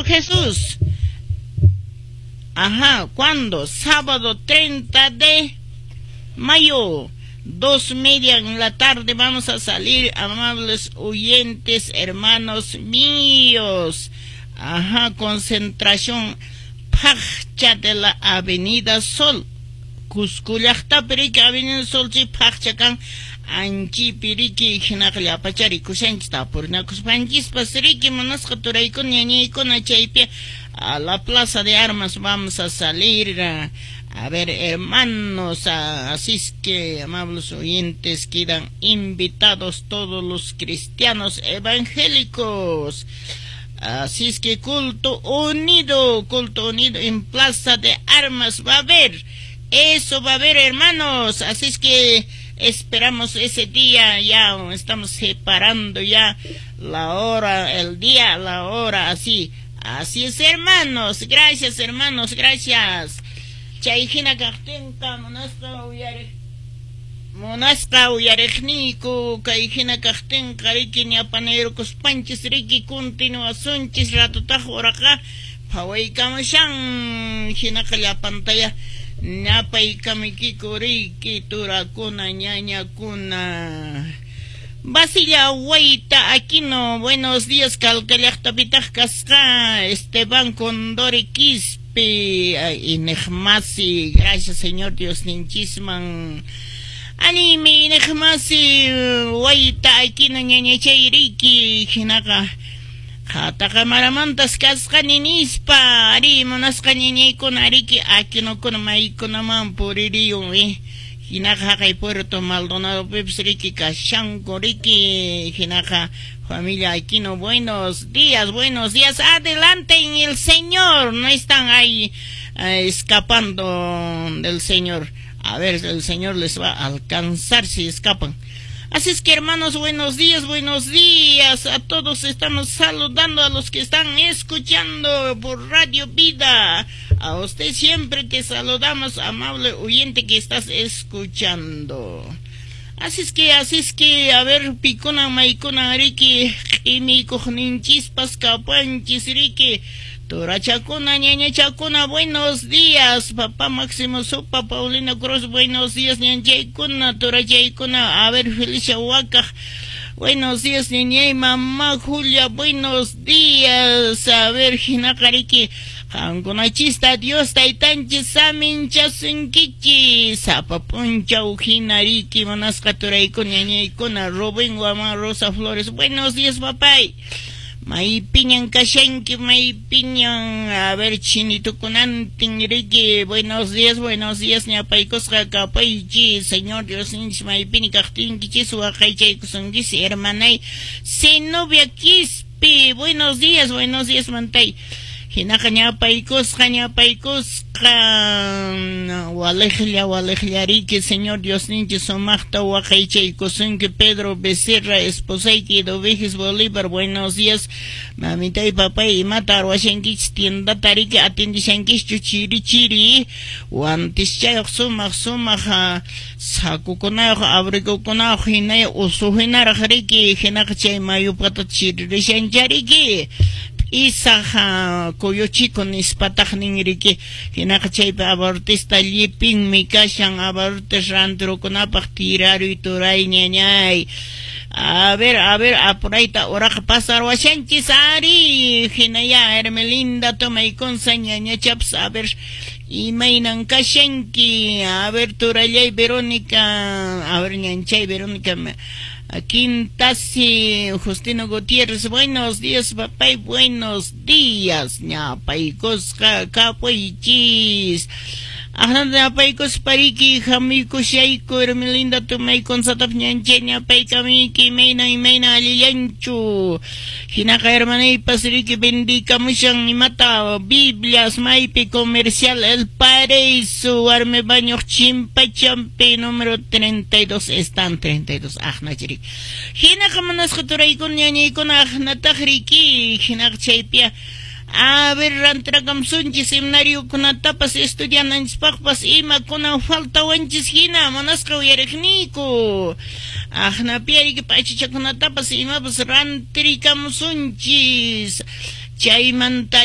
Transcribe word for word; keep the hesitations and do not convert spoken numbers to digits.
Maestro Jesús. Ajá, ¿cuándo? Sábado treinta de mayo, dos media en la tarde vamos a salir, amables oyentes, hermanos míos. Ajá, concentración Paqcha de la Avenida Sol. Cusco llaqtapi riki Avenida Sol chay Paqcha kan anchipi riki hinaqa llapachari rikushanchis tapurinakuspanchispas riki munasqa turaykuna ñañaykuna chaypi a la Plaza de Armas vamos a salir. A ver, hermanos, así es que, amables oyentes, quedan invitados todos los cristianos evangélicos. Así es que culto unido, culto unido en Plaza de Armas va a haber. Eso va a haber, hermanos. Así es que esperamos ese día. Ya estamos separando ya la hora, el día, la hora, así. Así es, hermanos. Gracias, hermanos, gracias. Chay hina kaqtinqa munasqa uyariq munasqa uyariqniyku kay hina kaqtinqa riki ñapanayrukuspanchis riki continuasunchis ratutaq uraqa phawaykamushan hinaqa llapantaya ñapaykamuykiku riki turakuna ñañakuna. Basilia Huayta Aquino, buenos días, Calca llaqtapitaq kasqa Esteban Condori Quispe, iñiqmasi, gracias Señor Dios ninchisman. Animi iñiqmasi Huayta Aquino ñañachay riki hinaqa Qhataqa kasqani nispa ari munasqa ñañaykuna riki Aquinokuna maykunaman puririyun eh. Hinaqa haqay Puerto Maldonado pipis riki kashanku riki hinaqa familia Aquino, buenos días, buenos días, adelante en el Señor, no están ahí eh, escapando del Señor, a ver, el Señor les va a alcanzar si escapan. Así es que, hermanos, buenos días, buenos días a todos. Estamos saludando a los que están escuchando por Radio Vida. A usted siempre te saludamos, amable oyente que estás escuchando. Así es que, así es que, a ver, pikuna, maykuna, riki, q'imiykuqninchispas kapanchis, riki. Turachakuna, ñañachakuna, buenos días. Papá Máximo Sopa, Paulina Cruz, buenos días, ñanchaykuna, turachaykuna. A ver, Felicia Huaca, buenos días, ñañay, mamá Julia, buenos días. A ver, hinaqa riki, qankunachista Dios taytanchis saminchasunkichis. Sapa p'unchaw hina riki, munasqa turaykuna, ñañaykuna, Rubén Guamán, Rosa Flores, buenos días, papay. Maypiñan kashanki, maypiñan, a ver, chinitukunantin riki, buenos días, buenos días, ñapaykusqa kapaychis, Señor Dios ninchis maypini kaqtinkichis waqaychaykusunkichis, hermanay Zenobia Quispe, buenos días, buenos días, mantay. Hinaqa ñapaykusqa, ñapaykusqa, waliqlla, waliqlla riki, Señor Dios ninchis sumaqta waqaychaykusunki, Pedro Becerra, esposayki Dovejes Bolívar, buenos días, mamitay, papay, imata ruwashankichis, tiendata riki atendishankischu chiri chiri, wantischayuq sumaq sumaq sakukunayuq abrigukunayuq hinay usuhinaraq riki, hinaqa chay mayupata chiririshancha riki. Isaq kuyuchiku nispataq nin riki, hinaqa chaypi abortista llipinmi kashan abortes rantirukunapaq tiraruy turay ñañay. A ver, a ver, apurayta uraqa pasarwashanchis ari, hinaya Hermelinda tomaykunsa ñañachapas, a ver, imaynan kashanki, a ver, turallay Verónica, a ver, ñanchay Verónica, Quintasi, Justino Gutiérrez, buenos días, papay, buenos días, ñapaykusqa kapuychis. Ajnata ñapaykuspa riki, hamuykushayku, Hermelinda tumaykunsatap ñanchay ñapaykamuyki, imayna, imayna allillanchu. Hinaqa hermanaypas riki bendikamushan imata, Biblias, maypi comercial El Paraíso, warmi bañuq chimpachampi, número treinta y dos, están treinta y dos, aqnachi riki. Hinaqa munasqa turaykuna ñañaykuna aqnataq riki, hinaqa chaypiya. A ver, rantrakamsunchis seminariokunatapas estudiananchispaqpas imakuna faltawanchis hina munasqa uyariqniyku. Aqnapi riki p'achachakunatapas imapas rantirikamusunchis. Chaymanta